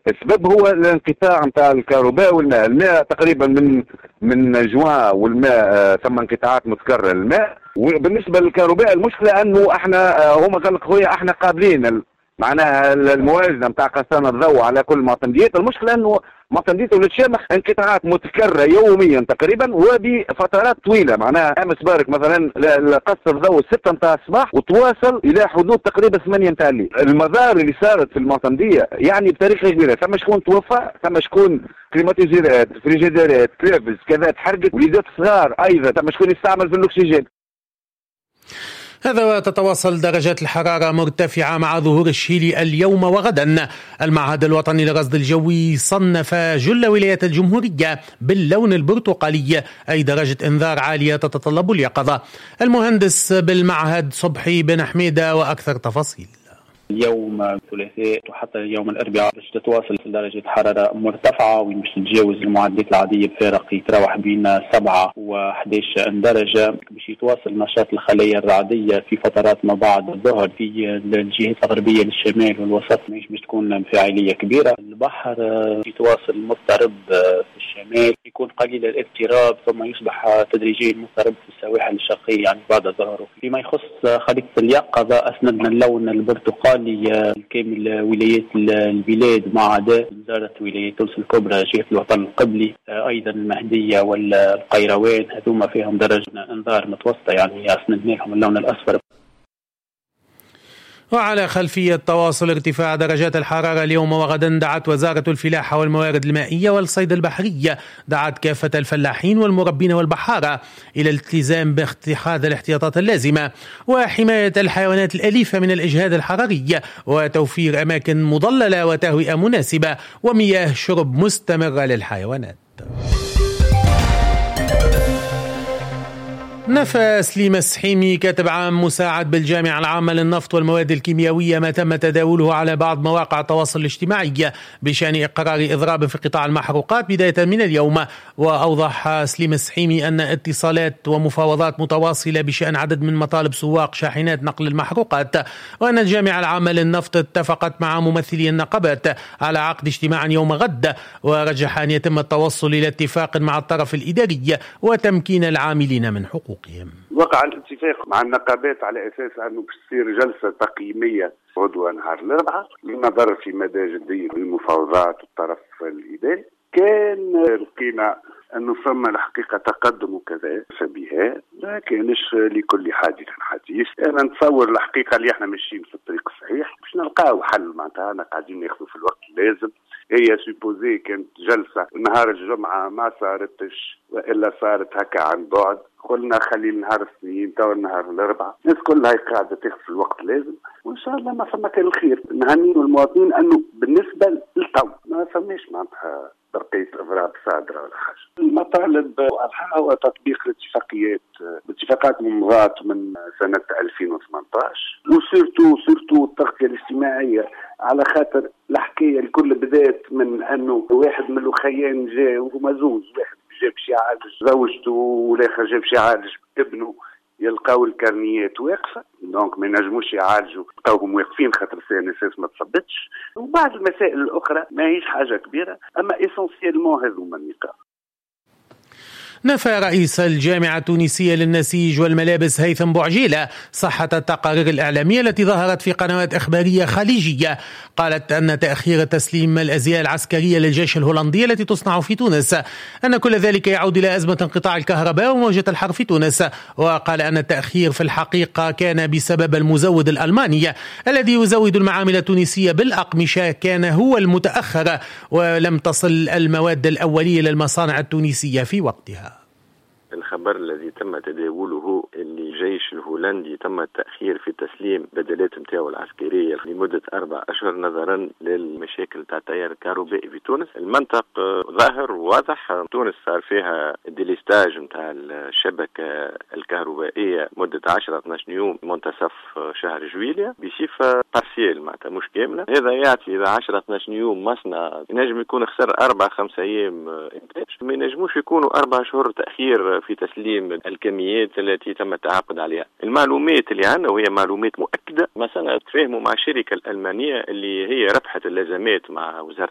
السبب هو الانقطاع نتاع الكهرباء والماء. الماء تقريبا من جوان والماء ثم انقطاعات متكررة للماء. وبالنسبة للكهرباء المشكلة انه احنا هما قال لك خويا احنا قابلين معناها الموازنة نتاع قصان الضوء على كل معتمديات. المشكلة انه معتمديات ولاد شامخ انقطاعات متكررة يوميا تقريبا وبفترات طويلة. معناها امس بارك مثلا قص الضوء 6 نتاع الصباح وتواصل الى حدود تقريبا 8 نتاع الليل. المضار اللي صارت في المعتمديه يعني بطريقة كبيرة، ثم شكون توفى، ثم شكون climatiseur ات، فريجيديرات، تلفز كذا تحرقت، وليدات صغار ايضا ثم شكون يستعمل في الاكسجين. هذا وتتواصل درجات الحرارة مرتفعة مع ظهور الشيلي اليوم وغدا. المعهد الوطني للرصد الجوي صنف جل ولايات الجمهورية باللون البرتقالي، أي درجة إنذار عالية تتطلب اليقظة. المهندس بالمعهد صبحي بن حميدة وأكثر تفاصيل. اليوم الثلاثاء وحتى اليوم الاربعاء باش تتواصل درجة حرارة مرتفعة وين باش تتجاوز المعدلات العادية بفارق يتراوح بين 7 و 11 درجة. باش يتواصل نشاط الخلايا الرعدية في فترات ما بعد الظهر في الجهات الغربية للشمال والوسط، ماهيش باش تكون فاعلية كبيرة. البحر يتواصل مضطرب في الشمال، يكون قليل الاضطراب ثم يصبح تدريجيا مضطرب في السواحل الشرقية يعني بعد الظهر. فيما يخص خريطة اليقظة أسندنا اللون البرتقالي كامل ولايات البلاد ما عدا وزارة ولاية تونس الكبرى، جهة الوطن القبلي، أيضا المهدية والقيروان، هذوما فيهم درجة انذار متوسطة يعني أسندنا لهم اللون الأصفر. وعلى خلفية تواصل ارتفاع درجات الحرارة اليوم وغدا، دعت وزارة الفلاحة والموارد المائية والصيد البحرية دعت كافة الفلاحين والمربين والبحارة إلى الالتزام باتخاذ الاحتياطات اللازمة وحماية الحيوانات الأليفة من الإجهاد الحراري وتوفير أماكن مظللة وتهوئة مناسبة ومياه شرب مستمرة للحيوانات. نفى سليم السحيمي كاتب عام مساعد بالجامعة العامة للنفط والمواد الكيميائية ما تم تداوله على بعض مواقع التواصل الاجتماعي بشأن إقرار إضراب في قطاع المحروقات بداية من اليوم. وأوضح سليم السحيمي أن اتصالات ومفاوضات متواصلة بشأن عدد من مطالب سواق شاحنات نقل المحروقات، وأن الجامعة العامة للنفط اتفقت مع ممثلي النقابات على عقد اجتماع يوم غد، ورجح أن يتم التوصل إلى اتفاق مع الطرف الإداري وتمكين العاملين من حقوقهم. وقع الاتفاق مع النقابات على اساس انه باش تصير جلسه تقييميه غدوه نهار الاربعاء للنظر في مدى جدية المفاوضات والطرف الاداري. كان لقينا انه فما الحقيقة تقدم وكذا فبها، ما كانش لكل حادث حديث. انا نتصور الحقيقة اللي احنا ماشيين في الطريق الصحيح باش نلقاو حل، معناتها انا قاعدين ناخذوا في الوقت اللازم. هي supposé كانت جلسه نهار الجمعة ما صارتش، والا صارت هكا عن بعد. قلنا خلي النهار الاثنين تو النهار الاربعاء، الناس كلها قاعدة تاخذ في الوقت لازم، وان شاء الله ما فما كان الخير. نهنيو المواطنين انه بالنسبة للتو ما فماش معناتها برقية اضراب صادرة ولا حاجة. المطالب واضحة هو تطبيق الاتفاقيات، الاتفاقات ممضاة من سنة 2018، و surtout التغطية الاجتماعية، على خاطر الحكاية الكل بدات من انه واحد من الاخيان جا وهما زوز، واحد جاب باش يعالج زوجته والاخر جاب باش يعالج ابنه، يلقاو الكرنيات واقفة، donc ما ينجموش يعالجوا، لقاوهم واقفين خاطر CNSS ما تصبتش. وبعض المسائل الاخرى ماهيش حاجة كبيرة، اما essentiellement هذوما النقاط. نفى رئيس الجامعة التونسية للنسيج والملابس هيثم بوعجيلة صحة التقارير الإعلامية التي ظهرت في قنوات إخبارية خليجية قالت أن تأخير تسليم الأزياء العسكرية للجيش الهولندي التي تصنع في تونس أن كل ذلك يعود إلى أزمة انقطاع الكهرباء وموجة الحر في تونس. وقال أن التأخير في الحقيقة كان بسبب المزود الألماني الذي يزود المعامل التونسية بالأقمشة كان هو المتأخر، ولم تصل المواد الأولية للمصانع التونسية في وقتها. الخبر الذي تم تداوله اللي الجيش الهولندي تم التأخير في تسليم بدلات نتاعو العسكرية لمدة 4 أشهر نظرا للمشاكل تاع التيار الكهربائي في تونس. المنطق ظاهر وواضح، تونس صار فيها délestage نتاع الشبكة الكهربائية مدة 10-12 يوم منتصف شهر جويليا بصفة partielle، معناتها مش كاملة. هذا يعطي إذا 10-12 يوم مصنع ينجم يكون خسر 4-5 أيام إنتاج، ما ينجموش يكونوا 4 شهور تأخير في تسليم الكميات التي تم التعاقد عليها. المعلومات اللي عندنا وهي معلومات مؤكدة، مثلا تفاهموا مع الشركة الألمانية اللي هي ربحت اللازمات مع وزارة